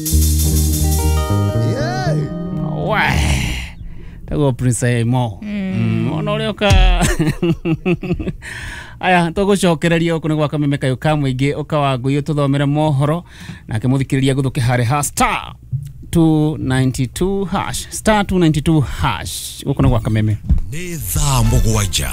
We taguo Prince Mo ona ũrĩa ũka aya tũgũcokereria gũkũ nĩ gwa Kameme Kayũ ka mũingĩ ũka wa ngũi ũtũthomere mohoro nake mũthikĩrĩria gũthũke harĩ ha star 292 hash star 292 hash gũkũ nĩ gwa Kameme. Nĩ thaa 7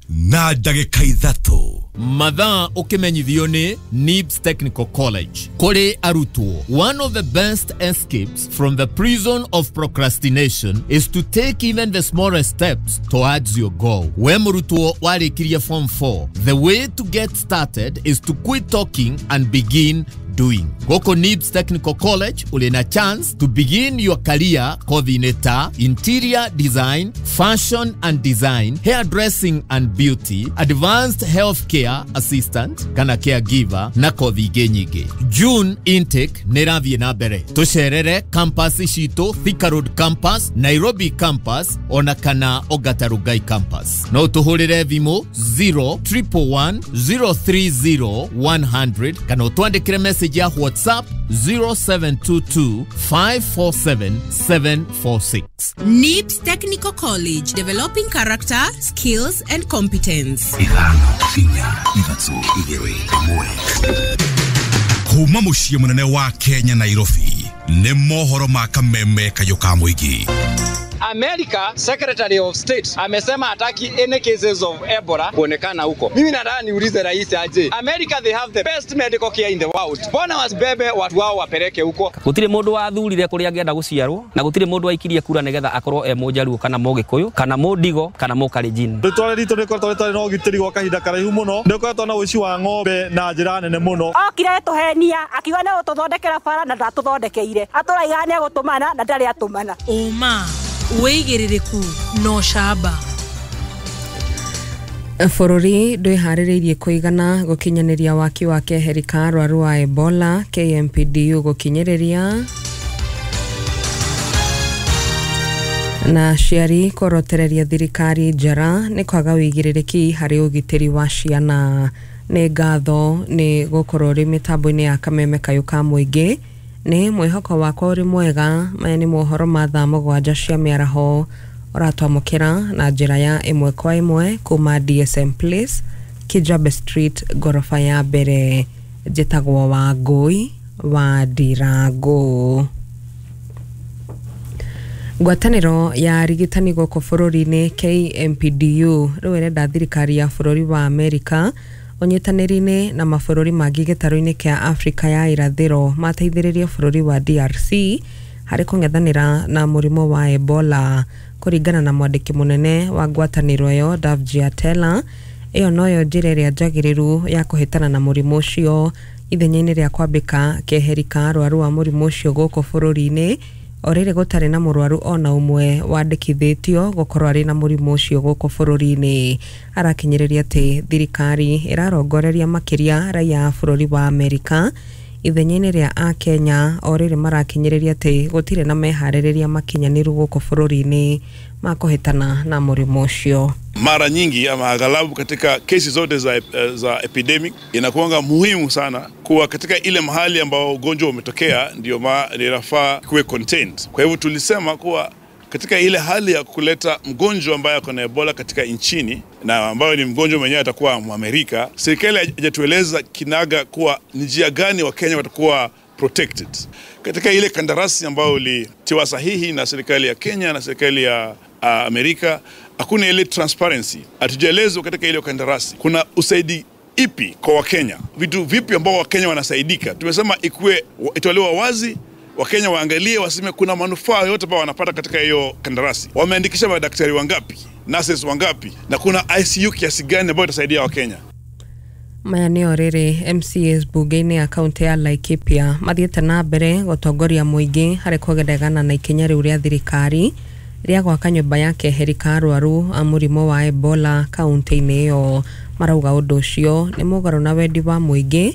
na ndagĩka 3. Mathaa ũkĩmenyithio nĩ NIBS Technical College. Kũrĩ arutwo, one of the best escapes from the prison of procrastination is to take even the smallest steps towards your goal. We mũrutwo warĩkirie form 4, the way to get started is to quit talking and begin doing. Gũkũ NIBS Technical College ũrĩ na chance to begin your career kothi-inĩ ta interior design, fashion and design, hairdressing and beauty, advanced healthcare assistant kana caregiver na kothi ingĩ nyingĩ. June intake nĩ ĩrathiĩ na mbere. Tũcerere campus citũ, Thika Road campus, Nairobi campus ona kana Ongata Rongai campus. No tũhũrĩre thimũ 0 111 030 100 kana ũtwandĩkĩre message ya WhatsApp 0722 547 746. NIBS Technical College, developing character, skills and competence. 5 4 3 2 1. Kuma mũciĩ mũnene wa Kenya Nairobi nĩ mohoro ma Kameme Kayũ ka mũingĩ. America Secretary of State amesema hataki any cases of Ebola kuonekana huko. Mimi nataka niulize rais aje. America, they have the best medical care in the world. Mbona wasibebe watu wao wapeleke huko? Gũtirĩ mũndũ wathurire kũrĩa angĩenda gũciarwo na gũtirĩ mũndũ waikirie kura nĩgetha akorwo e mũjaruo kana mũgĩkũyũ kana mũndigo kana mũkalenjin. Rĩtwa ritũ rĩkoretwo rĩtarĩ na ũgitĩri gwa kahinda karaihu mũno. Nĩ ũkoretwo na ũici wa ng'ombe na njĩra nene mũno. Okire tũhenia akiuga nĩ gũtũthondekera bara na ndatũthondekeire. Atũraiga nĩ egũtũmana na ndarĩ atũmana. Ũma, wĩigĩrĩrĩku na ũcamba. Bũrũri ndwĩharĩrĩirie kũigana gũkinyanĩria waki wa keheri ka arwaru a Ebola KMPDU gũkinyĩrĩria na aciari kũrotereria thirikari njara nĩ kwaga wĩigĩrĩrĩki harĩ ũgitĩri wa ciana. Nĩ ngatho nĩ gũkorwo ũrĩ mĩtambo-inĩ ya Kameme Kayũ ka mũingĩ. Nĩ mwĩhoko wakwa ũrĩ mwega. Maya nĩ mohoro ma thaa 7 cia mĩaraho ũratwamũkĩra na njĩra ya ĩmwe kwa ĩmwe kuma DSM Place, Kijabe Street, ngoroba ya mbere. Njĩtagwo Wangũi wa Ndirango. Ngwatanĩro ya arigitani gũkũ bũrũri-inĩ KMPDU rĩu ĩrenda thirikari ya bũrũri wa Amerika ũnyitanĩri-inĩ na mabũrũri mangĩ gĩtarũ-inĩ kĩa Afrika ya irathĩro mateithĩrĩrie bũrũri wa DRC harĩ kũng'ethanĩra na mũrimũ wa Ebola. Kũringana na mwandĩki mũnene wa ngwatanĩro ĩyo Davji Atela, ĩyo noyo njĩra ĩrĩa njagĩrĩru ya kũhĩtana na mũrimũ ũcio ithenya-inĩ rĩa kwambĩka keheri ka arwaru a mũrimũ ũcio gũkũ bũrũri-inĩ o rĩrĩ gũtarĩ na mũrwaru ona ũmwe wandĩkithĩtio gũkorwo arĩ na mũrimũ ũcio gũkũ bũrũri-inĩ. Arakinyĩrĩria atĩ thirikari ĩrarongoreria makĩria raia a bũrũri wa Amerika ithenya-inĩ rĩa a Kenya o rĩrĩ marakinyĩrĩria atĩ gũtirĩ na meharĩrĩria makinyanĩru gũkũ bũrũri-inĩ ma kũhĩtana na mũrimũ ũcio. Mara nyingi ama aghalabu katika kesi zote za epidemic inakuanga muhimu sana kuwa katika ile mahali ambao ugonjwa umetokea ndio inafaa kuwe contained. Kwa hivyo tulisema kuwa katika ile hali ya kuleta mgonjwa ambaye ako na Ebola katika nchini na ambayo ni mgonjwa mwenyewe atakuwa Mwamerika, serikali haijatueleza kinaga kuwa ni njia gani Wakenya watakuwa protected. Katika ile kandarasi ambayo ilitiwa sahihi na serikali ya Kenya na serikali ya Amerika, hakuna ile transparency. Hatujaelezwa katika ile kandarasi kuna usaidi ipi kwa Wakenya, vitu vipi ambao Wakenya wanasaidika. Tumesema ikuwe itolewa wazi, Wakenya waangalie, waseme kuna manufaa yote ambao wanapata katika hiyo kandarasi. Wameandikisha madaktari wangapi, nurses wangapi, na kuna ICU kiasi gani ambayo itasaidia Wakenya. Maya nĩo rĩrĩ MCAs bunge-inĩ ya kaunti ya Laikipia mathiĩte na mbere gũtongoria mũingĩ harĩ kũregana na ikinya rĩu rĩa thirikari rĩa gwaka nyũmba ya keheri ka arwaru a mũrimũ wa Ebola kaunti-inĩ ĩyo. Marauga ũndũ ũcio nĩ mũgarũ na wendi wa mũingĩ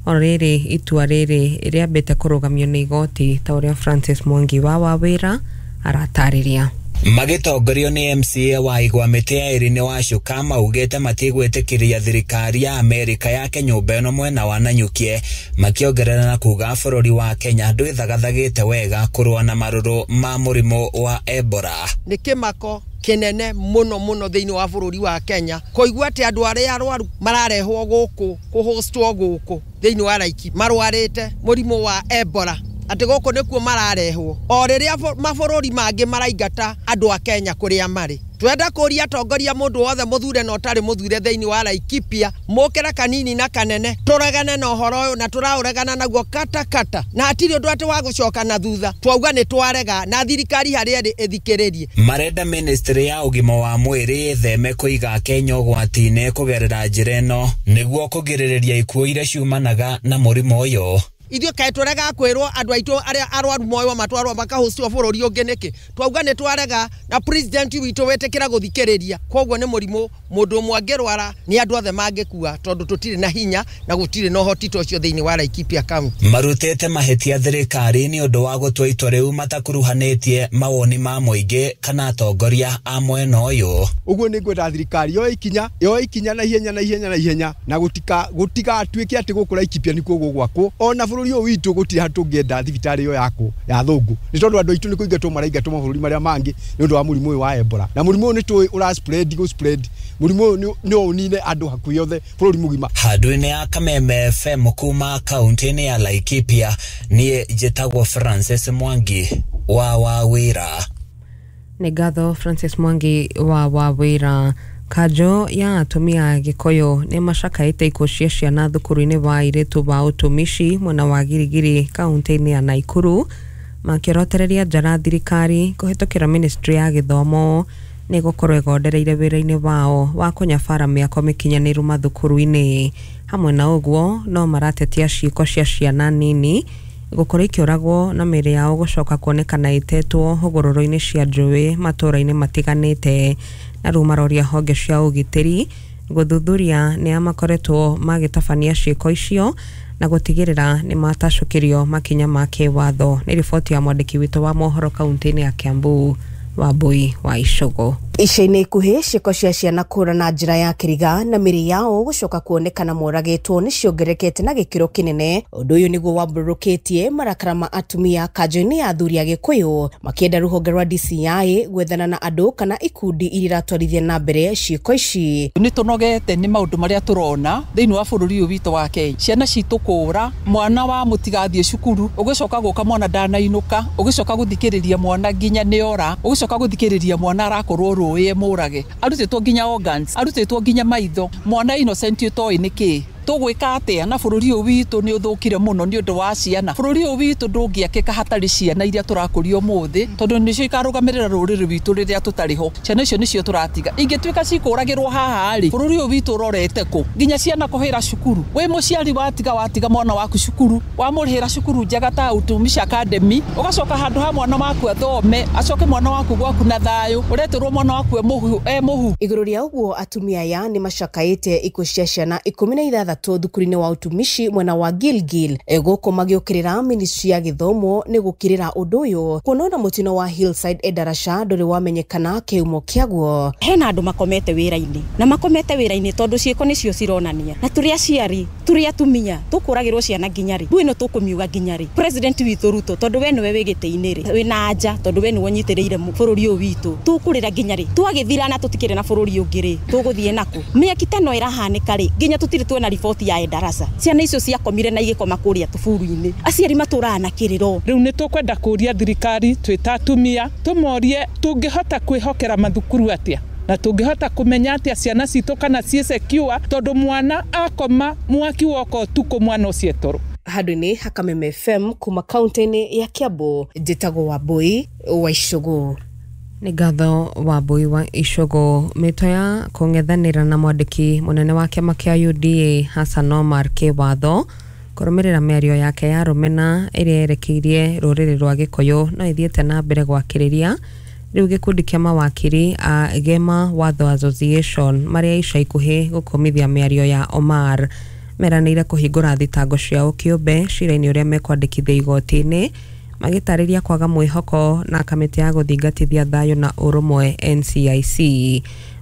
o rĩrĩ itua rĩrĩ rĩambĩte kũrũgamio nĩ igoti ta ũrĩa Francis Mwangi wa Wawĩra aratarĩria. Magĩtongorio nĩ MCA wa Igwa Mĩtĩ ya Irene Wacuka maugĩte matigwĩtĩkĩria thirikari ya Amerika yake nyũmba ĩno mwena wa Nanyukie, makĩongerera na kuga bũrũri wa Kenya ndwĩthagathagĩte wega kũrũa na marũrũ ma mũrimũ wa Ebola. Nĩ kĩmako kĩnene mũno mũno thĩinĩ wa bũrũri wa Kenya kũigua atĩ andũ arĩa arwaru mararehwo gũkũ kũhostwo gũkũ thĩinĩ wa Laikipia marwarĩte mũrimũ wa Ebola, atĩ gũkũ nĩkuo mararehwo o rĩrĩa mabũrũri mangĩ maraingata andũ a Kenya kũrĩa marĩ. Twenda kũria atongoria mũndũ wothe mũthure na ũtarĩ mũthure thĩinĩ wa Laikipia mũkĩra kanini na kanene tũregane na ũhoro ũyũ na tũraũregana naguo kata kata, na hatirĩ ũndũ atĩ wa gũcoka na thutha. Twauga nĩ twarega na thirikari harĩa ĩrĩ ĩthikĩrĩrie. Marenda ministry ya ũgima wa mwĩrĩ ĩtheme kũiga Kenya ũgwati-inĩ kũgerera njĩra ĩno nĩguo kũgirĩrĩria ikuũ iria ciumanaga na mũrimũ ũyũ. Ithuĩ kaĩ tũregaga kwĩrwo andũ aitũ arĩa arwaru moywo matwarwo makahũcwo bũrũri ũngĩ nĩkĩ? Twauga nĩ twarega na president witũ wĩtĩkĩra gũthikĩrĩria. Koguo nĩ mũrimũ mũndũ ũmwe angĩrwara nĩ andũ othe mangĩkua tondũ tũtirĩ na hinya na gũtirĩ na ũhoti ta ũcio thĩinĩ wa Laikipia County. Marutĩte mahĩtia thirikari nĩ ũndũ wa gũtua itua rĩu matakuruhanĩtie mawoni ma mũingĩ kana atongoria a mwena ũyũ. Ũguo nĩ ngwenda thirikari yoe ikinya na ihenya na ihenya na ihenya na gũtigatuĩke atĩ gũkũ Laikipia nĩkuo gũgwakwo ona bũrũri ũyũ witũ gũtirĩ handũ tũngĩenda thibitarĩ ĩyo yakwo ya thũngũ nĩ tondũ andũ aitũ nĩ kũingatwo maraingatwo mabũrũri marĩa mangĩ nĩ ũndũ wa mũrimũ ũyũ wa Ebola, na mũrimũ ũyũ nĩ tũĩ ũra spread gũ spread mũrimũ ũyũ nĩ ũnine andũ hakuhĩ othe bũrũri mũgima. Handũ-inĩ ya Kameme FM kuma kaunti-inĩ ya Laikipia, niĩ njĩtagwo Francis Mwangi wa Wawĩra. Nĩ ngatho Francis Mwangi wa Wawĩra. Kanjo ya atumia a Gĩkũyũ nĩ macakaĩte ikuũ cia ciana thukuru-inĩ wa airĩtu wa ũtumishi mwena wa Girigiri kaunti-inĩ ya Naikuru, makĩrotereria njara thirikari kũhĩtũkĩra ministry ya gĩthomo nĩ gũkorwo ĩgondereire wĩra-inĩ wao wa kũnyabara mĩako mĩkinyanĩru mathukuru-inĩ. Hamwe na ũguo no maratetia ciĩko cia ciana nini gũkorwo ikĩũragwo na mĩĩrĩ yao gũcoka kuonekana ĩtetwo hũgũrũrũ-inĩ cia njũĩ matũũra-inĩ matiganĩte, na rĩu maroria honge cia ũgitĩri gũthuthuria nĩa makoretwo magĩtabania ciĩko icio na gũtigĩrĩra nĩ matacũkĩrio makinya ma kĩwatho. Nĩ riboti ya mwandĩki witũ wa mohoro kaunti-inĩ ya Kiambu, Wambui wa Icũgũ. Ica-inĩ ikuhĩ ciĩko cia ciana kũra na njĩra ya kĩriga na mĩrĩ yao gũcoka kuonekana moragĩtwo nĩ ciongererekete na gĩkĩro kĩnene. Ũndũ ũyũ nĩguo wambũrũkĩtie marakara ma atumia kanjo-inĩ ya athuri a Gĩkũyũ makĩenda rũhonge rwa DCI gwethana na andũ kana ikundi iria iratwarithia na mbere ciĩko ici. Nĩ tũnogete nĩ maũndũ marĩa tũrona thĩinĩ wa bũrũri ũyũ witũ wa Kenya. Ciana citũ kũra, mwana wa mũtigathiĩ cukuru, ũgĩcoka gũka mwana ndanainũka, ũgĩcoka gũthikĩrĩria mwana nginya nĩora, ũgĩcoka gũthikĩrĩria mwana arakorwo rũĩ mũrage, arutĩtwo nginya organs, arutĩtwo nginya maitho, mwana innocent ũtoĩ nĩkĩ. Tũgwĩka atĩa na bũrũri ũyũ witũ nĩ ũthũkire mũno nĩ ũndũ wa ciana. Bũrũri ũyũ witũ ndũngĩakĩka hatarĩ ciana iria tũrakũria ũmũthĩ, tondũ nĩcio ikarũgamĩrĩra rũrĩrĩ rwitũ rĩrĩa tũtarĩ ho. Ciana icio nĩcio tũratiga. Ingĩtuĩka cikũragĩrwo haha rĩ, bũrũri ũyũ witũ ũrorete kũ? Nginya ciana kũhĩra cukuru. Wĩ mũciari watiga mwana waku cukuru, wamũrĩhĩra cukuru njega ta Utumishi Academy, ũgacoka handũ ha mwana waku athome, acoke mwana waku gwaku na thayũ, ũretĩrwo mwana waku e mũhu. Igũrũ rĩa ũguo atumia aya nĩ macakaĩte ikuũ cia ciana 16 thukuru-inĩ wa ũtumishi mwena wa Gilgil gũkũ magĩũkĩrĩra ministry ya gĩthomo nĩ gũkĩrĩra ũndũ ũyũ kuona ona mũtino wa Hillside Endarasha ndũrĩ wamenyekana kĩhumo kĩaguo. Hena andũ makomete wĩra-inĩ na makomete wĩra-inĩ tondũ ciĩko nĩcio cironania, na tũrĩ aciari tũrĩ atumia tũkũragĩrwo ciana nginya rĩ, ĩno tũkũmiuga nginya rĩ? President witũ Ruto, tondũ we nĩwe wĩ gĩtĩ-inĩ rĩ, wĩna anja tondũ we nĩwe ũnyitĩrĩire bũrũri ũyũ witũ, tũkũrĩra nginya rĩ? Twagĩthira na tũtikĩrĩ na bũrũri ũngĩ rĩ, tũgũthiĩ nakũ? Mĩaki ta ĩno ĩrahanĩka rĩ, nginya tũtirĩ tuona riboti ya Endarasha. Ciana icio ciakomire na igĩkoma kũrĩa tũburu-inĩ, aciari matũraga na kĩrĩro. Rĩu nĩ tũkwenda kũria thirikari twĩ ta atumia tũmorie tũngĩhota kwĩhokera mathukuru atĩa na tũngĩhota kũmenya atĩa ciana citũ kana ciĩ secure, tondũ mwana akoma mwaki woka ũtukũ mwana ũcio toro. Handũ-inĩ ha Kameme FM kuma kaunti-inĩ ya Kiambu, njĩtagwo Wambui wa Icũgũ. Nĩ ngatho Wambui wa Icũgũ. Mĩto ya kũng'ethanĩra na mwandĩki mũnene wa kĩama kĩa UDA Hassan Omar kĩwatho kũrũmĩrĩra mĩario yake ya rũmena ĩrĩa yerekeirie rũrĩrĩ rwa Gĩkũyũ no ĩthiĩte na mbere gwakĩrĩria. Rĩu gĩkundi kĩa mawakiri a Gema Watho Association marĩa ica ikuhĩ gũkũmithia mĩario ya Omar meranĩire kũhingũra thitango ciao kĩũmbe cira-inĩ ũrĩa mekwandĩkithia igoti-inĩ Magĩtarĩria kwaga mwĩhoko na kamĩtĩ ya gũthingatithia thayũ na ũrũmwe NCIC.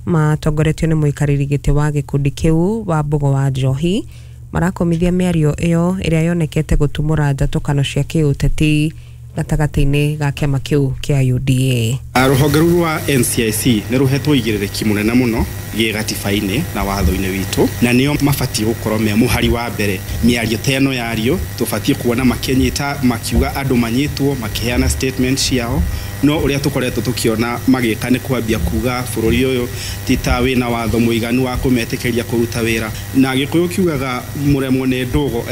Matongoretio nĩ mũikarĩri gĩtĩ wa gĩkundi kĩu wa Mbogo wa Njohi, marakomithia mĩario ĩyo ĩrĩa yonekete gũtumũra njatũkano cia kĩũteti gatagatĩ-inĩ ga kĩama kĩu kĩa UDA. Rũhonge rũu rwa NCIC nĩ rũhetwo igĩrĩrĩki mũnene mũno gĩgatiba-inĩ na watho-inĩ witũ, na nĩo mabatiĩ gũkorwo me mũhari wa mbere. Mĩario ta ĩno yario tũbatiĩ kuona makĩnyita, makiuga andũ manyitwo, makĩheana statement ciao, no ũrĩa tũkoretwo tũkĩona magĩka nĩ kwambia kuga bũrũri ũyũ ti ta wĩna watho mũiganu wa kũmetĩkĩria kũruta wĩra. Na Gĩkũyũ kiugaga mũremwo nĩ ndũgo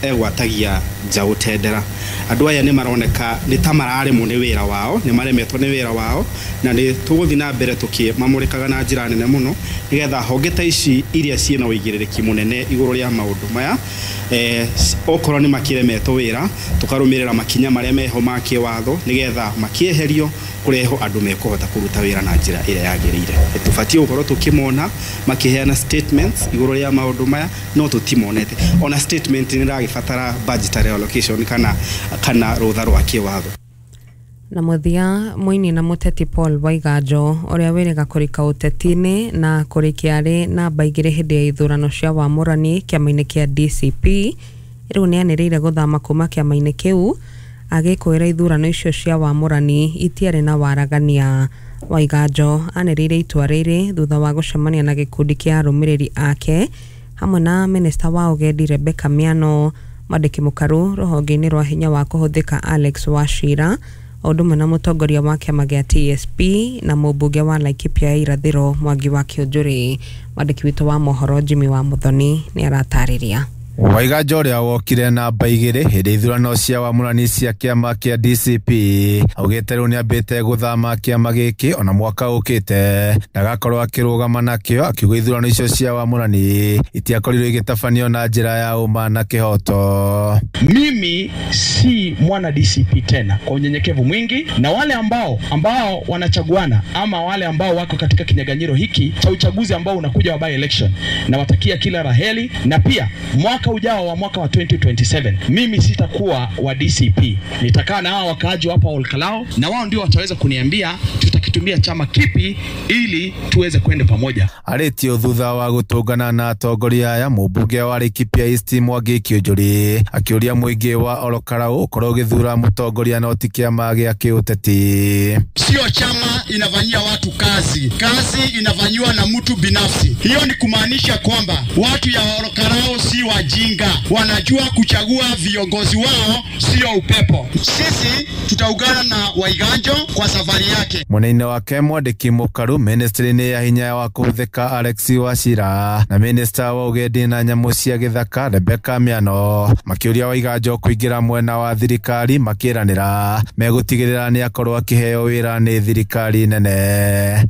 egwatagia njaũ tendera. Andũ aya nĩ maroneka nĩ ta mararemwo nĩ wĩra wao, nĩ maremetwo nĩ wĩra wao, na nĩ tũgũthiĩ na mbere tũkĩmamũrĩkaga na njĩra nene mũno nĩgetha honge ta ici iria ciĩna ũigĩrĩrĩki mũnene igũrũ rĩa maũndũ maya, okorwo nĩ makĩremetwo wĩra, tũkarũmĩrĩra makinya marĩa meho ma kĩwatho nĩgetha makĩeherio kũrehwo andũ mekũhota kũruta wĩra na njĩra ĩrĩa yagĩrĩire. Tũbatiĩ gũkorwo tũkĩmona makĩheana statements igũrũ rĩa maũndũ maya, no tũtimonete. Ona statement nĩ ĩragĩbatara budgetary allocation kana rũtha rwa kĩwatho. Na mũthia, mũini na mũteti Paul Waiganjo ũrĩa wĩrĩga kũrika ũteti-inĩ na kũrĩkia arĩ namba 2 hĩndĩ ya ithurano cia wamũrani kĩama-inĩ kĩa DCP, rĩu nĩanĩrĩire gũthama kuma kĩama-inĩ kĩu agĩkũĩra ithurano icio cia wamũrani itiarĩ na waragania. Waiganjo anĩrĩire itua rĩrĩ thutha wa gũcemania na gĩkundi kĩa arũmĩrĩri ake hamwe na minista wa ũgendi Rebecca Miano, mwandĩki mũkaru rũhonge-inĩ rwa hinya wa kũhũthĩka Alex Wachira, o ũndũ ũmwe na mũtongoria wa kĩama gĩa TSP na mũmbunge wa Laikipia ya Irathĩro Mwangi wa Kĩũnjũrĩ. Mwandĩki witũ wa mohoro Jimmy wa Muthoni nĩ aratarĩria. Waiganjo ũrĩa wokire namba 2 hĩndĩ ithurano cia wamũrani cia kĩama kĩa DCP augĩte rĩu nĩambĩte gũthama kĩama gĩkĩ ona mwaka ũkĩte ndagakorwo akĩrũgama nakĩo, akiuga ithurano icio cia wamũrani itiakorirwo igĩtabanio na njĩra ya ũma na kĩhoto. Mimi si mwana DCP tena, kwa unyenyekevu mwingi, na wale ambao wanachaguana ama wale ambao wako katika kinyaganyiro hiki cha uchaguzi ambao unakuja wa by election, nawatakia kila raheli, na pia mwaka ujao wa mwaka wa 2027 mimi sitakuwa wa DCP, nitakaa na hawa wakaaji hapa Olkalao, na wao ndio wataweza kuniambia tutakitumia chama kipi ili tuweze kwenda pamoja. Arĩtio thutha wa gũtũngana na atongoria aya, mũmbunge wa Laikipia East Mwangi Kĩũnjũrĩ akĩũria mũingĩ wa Olokarau ũkorwo ũgĩthura mũtongoria no ti kĩama gĩa kĩũteti. Sio chama inafanyia watu kazi, kazi inafanyiwa na mtu binafsi. Hiyo ni kumaanisha kwamba watu ya Olokarau si wajinga, wanajua kuchagua viongozi wao, sio upepo. Sisi tutaungana na Waiganjo kwa safari yake. Mwena-inĩ wake mwandĩki mũkaru ministry-inĩ ya hinya wa kũhũthĩka Alex Wachira na minista wa ũgendi na nyamũ cia gĩthaka Rebecca Miano makĩũria Waiganjo kũingĩra mwena wa thirikari, makĩranĩra megũtigĩrĩra nĩ akorwo akĩheo wĩra nĩ thirikari nene.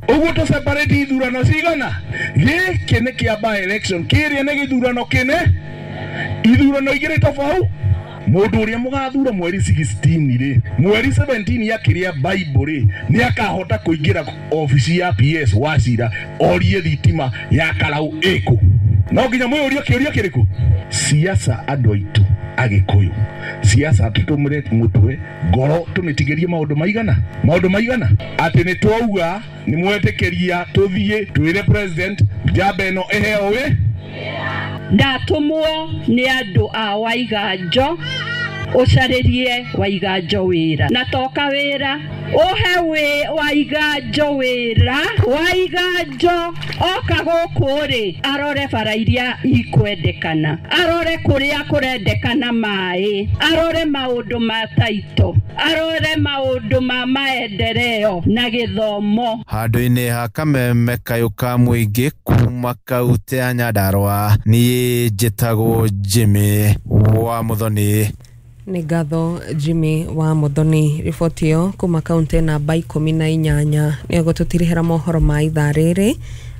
Ũguo tũ separate ithurano cigana, gĩkĩ nĩ kĩa by election, kĩrĩa nĩ gĩthurano kĩne, ithurano igĩrĩ tofauti. Mũndũ ũrĩa mũgathura mweri 16 rĩ, mweri 17 yakĩrĩa Bible rĩ, nĩ akahota kũingĩra obici ya PS Wachira orie thitima ya Karau ĩkũ. No nginya mwĩyũrie kĩũria kĩrĩkũ? Siasa andũ aitũ Agĩkũyũ, siasa tũtũmĩre mũtwe ngoro tũmĩtigĩrie maũndũ maigana atĩ nĩ twauga nĩ mwetĩkĩria tũthiĩ twĩre president njamba ĩno ĩheo wĩ. Ndatũmwo nĩ andũ a Waiganjo ũcarĩrie Waiganjo wĩra, na toka wĩra ũhe Waiganjo wĩra. Waiganjo oka gũkũ rĩ, arore bara iria ikwendekana, arore kũrĩa kũrendekana maĩ, arore maũndũ ma taito, arore maũndũ ma maendeleo na gĩthomo. Handũ-inĩ ha kameme kayũ ka mũingĩ kuma kaunti ya Nyandarua, niĩ njĩtagwo Jimmy wa Muthoni. Nĩ ngatho Jimmy wa Muthoni. Riboti ĩyo kuma kaunti namba 18 nĩyo gũtũtirihĩra mohoro ma ithaa rĩrĩ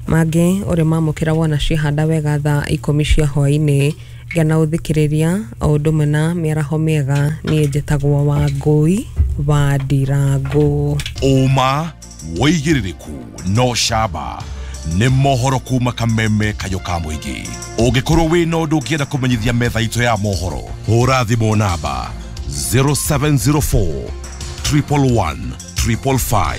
mangĩ ũrĩ mamũkĩra wona ciahanda wega thaa 10 cia hwaĩ-inĩ. Gĩa na ũthikĩrĩria o ũndũ ũmwe na mĩaraho mĩega. Niĩ njĩtagwo Wangũi wa Ndirango. Ũma wĩigĩrĩrĩku no camba nĩ mohoro kuma kameme kayũ ka mũingĩ. Ũngĩkorwo wĩna ũndũ ũngĩenda kũmenyithia metha itũ ya mohoro, hũra thimũ namba 0704 111 555.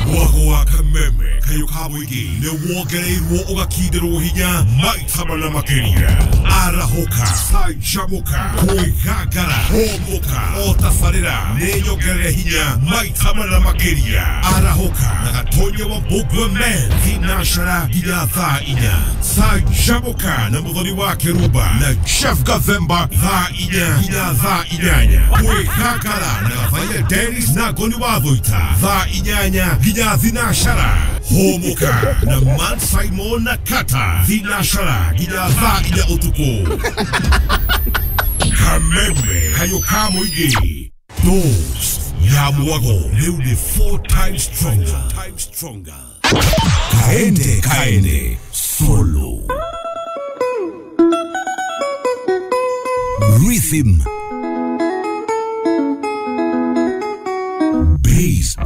Mwago wa kameme kayo ka mũingĩ nĩ wongereirwo ũgakindĩrwo hinya maita mana makĩria. Arahũka, canjamũka, kwĩgangara, hũmũka, o tabarĩra nĩ nyongerere hinya maita mana makĩria. Arahũka na Gatonya wa Mbũngwe Men thinashara nginya thaa 4. Canjamũka na Mũthoni wa Kĩrumba na Jeff Gathemba thaa 4 nginya thaa 8. Kwĩgangara na Gathaiya Dennis na Ngoni wa Thũita thaa 8 nginya thinashara. Hũmũka na Man Simon na Kata thinashara nginya thaa 4 ũtukũ. Kameme kayo ka mũingĩ dose ya mwago rĩu nĩ 4 times stronger. Kaende kaende solo rhythm bass.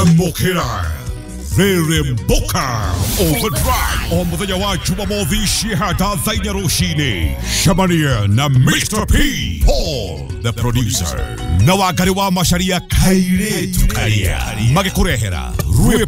Amokera Reremboka Overdrive o muthenya wa Jumamothi cihata thaa 4 rũcinĩ. Cemania na Mr. P Paul the producer na Wangari wa Macharia kairĩtu karia magĩkũrehera.